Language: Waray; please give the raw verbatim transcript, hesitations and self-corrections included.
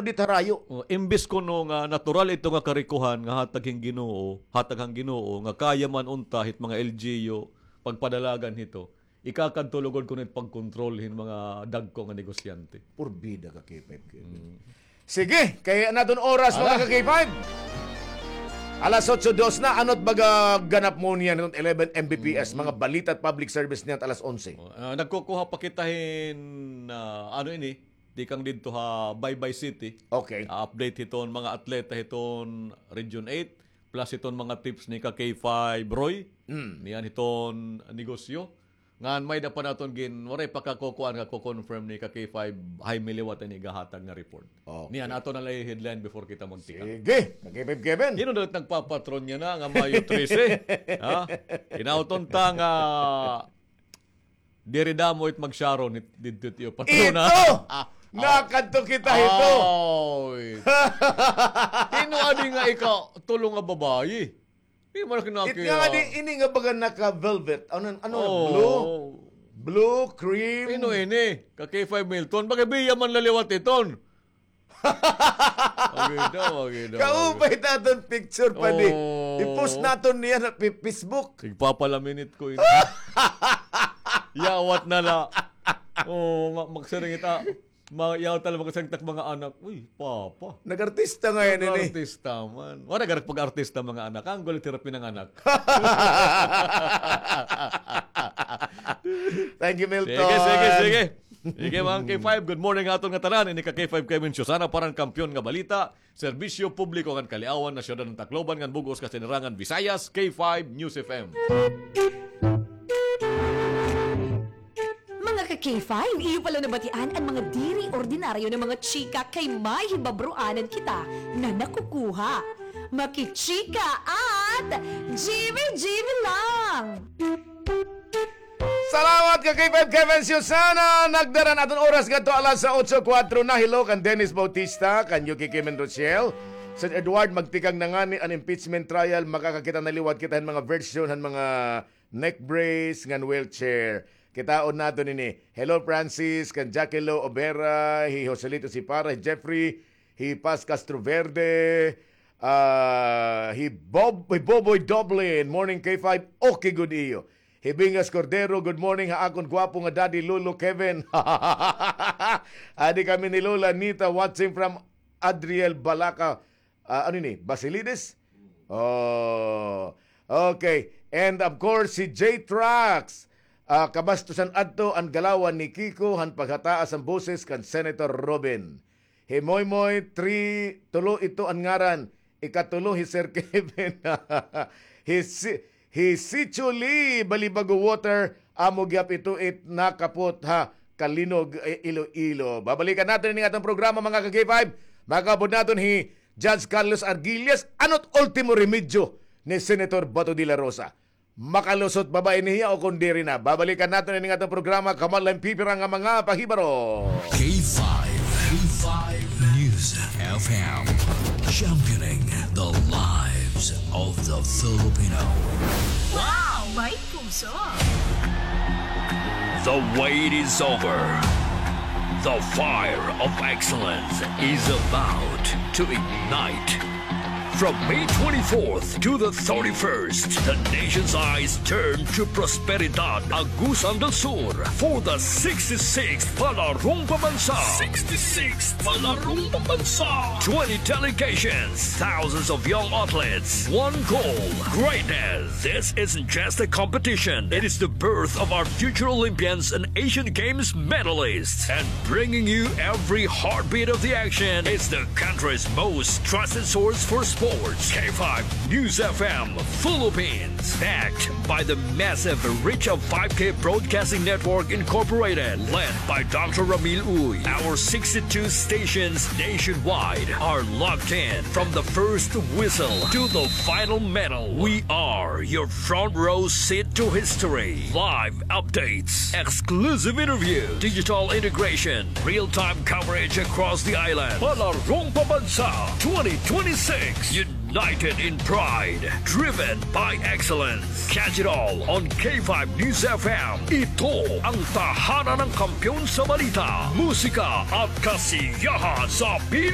di harayo. Oh, imbis kuno nga natural ito nga karikohan nga hatag hin Ginoo, hatag han Ginoo, nga kaya man unta hit mga L G U pagpadalagan hito, ikakadto lugod kuno it pagkontrol hin mga dagko nga negosyante. Purbida ka, K five Kevin. Mm. Sige, kay an aton oras, mga ka-K five. Alas otso dos na, ano't baga ganap mo niyan, eleven M B P S, mga balita at public service niyan, alas onse. Oh, ah, nagkukuha pa kita hin, ah, ano ini, tikang didto ha Baybay City. Okay. Ah, update hiton mga atleta hiton Region eight, plus hiton mga tips ni ka K five Roy. Mm. Niyan hiton negosyo. Ngan may-ada pa naton gin-, waray pa kakukuan, kaku-confirm ni ka K five Jaime liwat ini gahatag nga report. Okay. Niyan, aton na la i-headline before kita magtikang. Sige, ka K five Kevin. Hin-o daw it nagpapatron niya na nga Mayo trese? Ha? Hinaot unta nga diri damo it mag-Sharon it, didto it iyo patrona. Ito! Ah, nakadto kita hito. Oy. Hin-o adi nga ikatulo nga babayi? Di man ako nakita. It nga di, ini nga baga naka-velvet. Ano, ano, blue? Oh. Blue, cream. Hin-o ini? Ka K five Milton. Baga biya man la liwat iton. Okay daw, okay daw. Kaupay ta aton picture pa di. Oh. I-post naton niya ha pi-, Facebook. Igpapalaminit ko ini. Yawat na la. Oh, ma-, magsiring ita. Ma-, yaw talaga kasi ang tak mga anak. Uy, papa. Nag-artista nga yan, ini. Nag-artista man. Wala, garak pag-artista mga anak. Ang gulit hirap ng anak. Thank you, Milton. Sige, sige, sige. Sige, mga K five, good morning aton nga tanan. Ini ka K five Kevin Susana para han kampiyon nga balita. Serbisyo publiko ngan kaliawan ha siyudad han Tacloban ngan bug-os kasinirangan Visayas, K five News F M. Mga ka K five, iyo pala nabatian an mga diri ordinaryo nga mga chika kay may hibabroanan kita nga nakukuha. Makichika at Jimmy Jimmy lang! Salamat ka K five Kevin Susana. Nagdara an aton oras ngadto alas otso kuwatro na. Hello kan Dennis Bautista, kan Yuki Kim and Rochelle. Sir Edward, magtikang na ngani an impeachment trial. Makakakita na liwat kita han mga version han mga neck brace ngan wheelchair. Kitaon naton ini. Hello Francis, kan Jackie Lo Obera, hi Joselito Sipara, hi Jeffrey, hi Paz Castroverde, ah, hi Bob, hi Boboy Doblin. Morning K five, okay gud iyo. Hibingas Cordero, good morning ha akon gwapo nga daddy, Lolo Kevin. Adi kami ni Lola Nita, watching from Adriel Balaca, ah, ano ini? Basilides? Oh, okay. And of course, si J Trax. Ah, kabastusan adto an galawan ni Kiko han paghataas han boses kan Senator Robin. Hi Moymoy, three, tulo ito an ngaran. Ikatulo hi Sir Kevin. Hi si-, hi Sicho Lee, Balibago Water, amo gihap ito it nakapot ha Calinog, eh, Iloilo. Babalikan naton ini nga aton programa, mga ka K five. Makaupod naton hi Judge Carlos Arguillas, ano't ultimo remedyo ni Senator Bato de la Rosa? Makalusot pa ba ini hiya o kon diri na? Babalikan naton ini nga aton programa, kamalan pipira nga mga pahibaro. K five, K five News F M, championing the lives of the Filipino. Wow! May puso! The wait is over. The fire of excellence is about to ignite. From May twenty-fourth to the thirty-first, the nation's eyes turn to Prosperidad, Agusan del Sur, for the sixty-sixth Palarong Pambansa. Sixty-sixth Palarong Pambansa. Twenty delegations, thousands of young athletes, one goal, greatness. This isn't just a competition. It is the birth of our future Olympians and Asian Games medalists. And bringing you every heartbeat of the action, it's the country's most trusted source for sports. K five News F M Philippines, backed by the massive Reach of Five K Broadcasting Network Incorporated, led by Doctor Ramil Uy. Our sixty-two stations nationwide are locked in. From the first whistle to the final medal, we are your front row seat to history. Live updates, exclusive interview, digital integration, real-time coverage across the island. Palarong Pambansa twenty twenty-six. You United in pride, driven by excellence. Catch it all on K five News F M. Ito ang tahanan ng kampiyon sa balita, musika at kasiyahan sa Pilipinas.